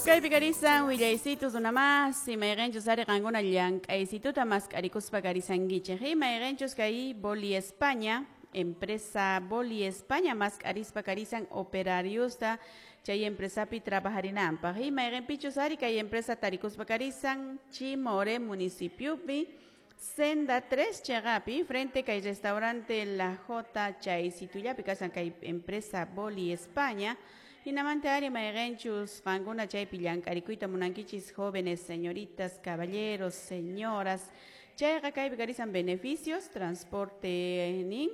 Kaypi karisan willaysitus runamasi, mayqinchus ari qankuna llank'aysituta mask'arikuspa karisankichik. Mayqinchus kay Boli España, empresa Boli España mask'arispa karisan operariosta chay empresapi trabajarinanpaq. Mayqinpichus ari kay empresa tarikuspa karisan Chimore municipiopi, Senda 3 chaqapi, frente kay restaurante La J chaysitullapi kasan kay empresa Boli España. Hinamanta ari mayqinchus qankuna chaypi llank'arikuyta munankichis jóvenes, señoritas, caballeros, señoras. Chayqa kaypi karisan beneficios, transporte nin,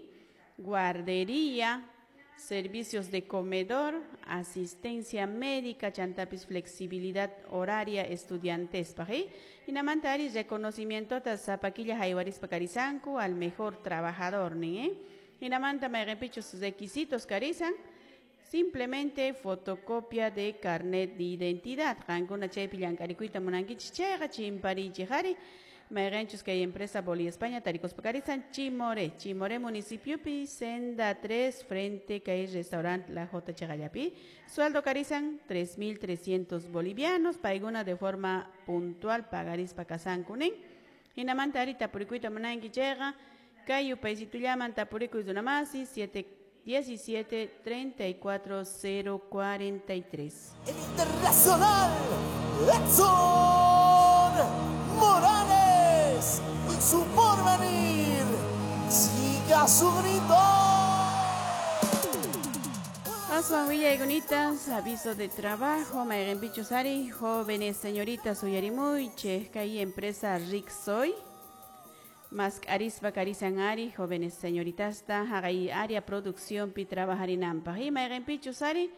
guardería, servicios de comedor, asistencia médica, chantapis flexibilidad horaria estudiantespaq. Hinamanta ari reconocimientota sapa killa haywarispa karisanku al mejor trabajador nin, ¿eh? Hinamanta mayqinpichus requisitos karisan, simplemente fotocopia de carnet de identidad. Qankuna chaypi llank'arikuyta munankichis chayqa chimparichik ari. Mayqinchus kay empresa Boli España tarikuspa karisan Chimore, Chimore municipiopi, Senda 3, frente kay restaurante La J chaqallapi. Sueldo karisan 3.300 bolivianos, paykuna de forma puntual pagarispa kasanku nin. Hinamanta ari tapurikuyta munanki chayqa kay yupaysitullaman tapurikuy runamasi 7 17 34 0 43. El internacional Edson Morales y su porvenir siga su grito. Aswan willaykunita, aviso de trabajo, mayqinpichus ari, jóvenes señoritas uyarimuychik, kay empresa Rixoy, mask'arispa karisan ari, jóvenes señoritasta, haqay área producciónpi trabajarinanpaq. Y mayqinpichus ari,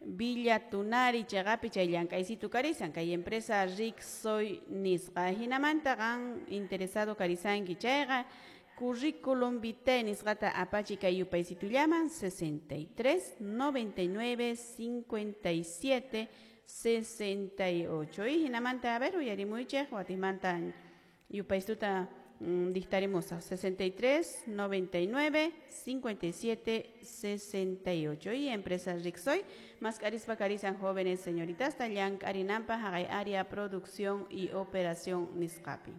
Villa Tunari chaqapi chay llank'aysitu karisan, kay empresa Rixoy nisqa. Hinamanta qan interesado karisanki chayqa, currículum vitae nisqata apachi kay yupaysitullaman 63 99 57 68. Y hinamanta, a ver, uyarimuychik, watimanta yupaystuta dictaremos 63 99 57 68. Y empresa Rixoy, mask'arispa karisan jóvenes señoritas, llank'arinanpaq haqay área producción y operación nisqapi.